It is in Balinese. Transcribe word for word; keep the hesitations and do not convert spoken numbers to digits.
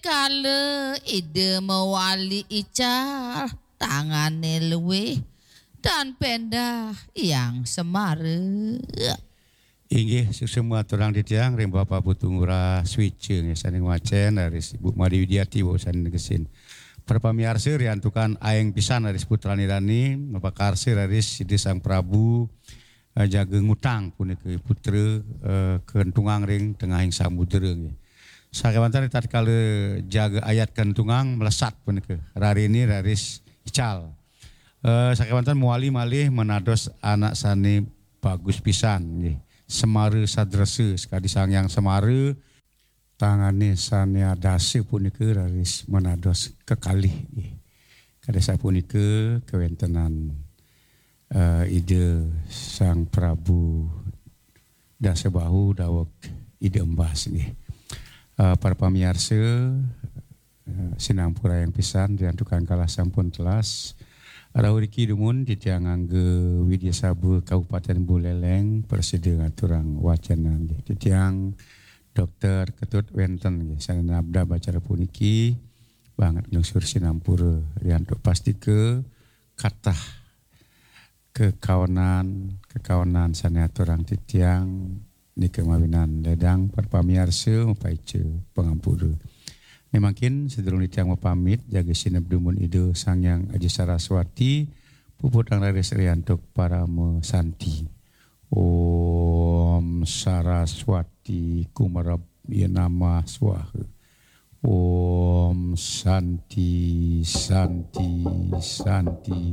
Kala Ida mewali ical, tangane luwih dan pendah yang semara. Inggih, suksma aturang titiang ring Bapak Putu Ngurah Swica nggih sane ngwacen, raris Ibu Made Widiati wau sane negesin. Para pamiarsa, riantukan aeng pisan raris putrane rani, mapakarsa raris Ida Sang Prabu, eh, jaga ngutang punika putra, eh, kentungang ring tengahing samudra nggih. Sakewanten tatkala jaga ayat kentungang mlesat punika, rarine raris ical. Eh, sakewanten mawali malih menados anak sane bagus pisan nggih. Semara sadresa, sakadi Sang Hyang Semara, tangane sane adasa punika raris menados kekalih nggih. Kadi sapunika kawentenan, eh, Ida Sang Prabu Dasabahu daweg Ida Embas nggih. Eh, para pamiarsa, eh, sinampura yang pisan, riantukan kalah sampun telas. Rauh niki dumun titiang ngangge Widya Sabha Kabupaten Buleleng prasida ngaturang wacana nggih. Titiang Dokter Ketut wenten nggih sane nabdab acara puniki, banget nglungsur sinampura riantuk pastika katah kekaonan, kekaonan sane aturang titiang nika mawinan ledang para pamiarsa mapaica pangampura. Mangkin sadurung titiang mapamit, jaga sineb dumun Ida Sang Hyang Aji Saraswati, puputang raris riantuk parama santi. Om Saraswati Kumarabya Namah Swaha. Om Santi, Santi, Santi.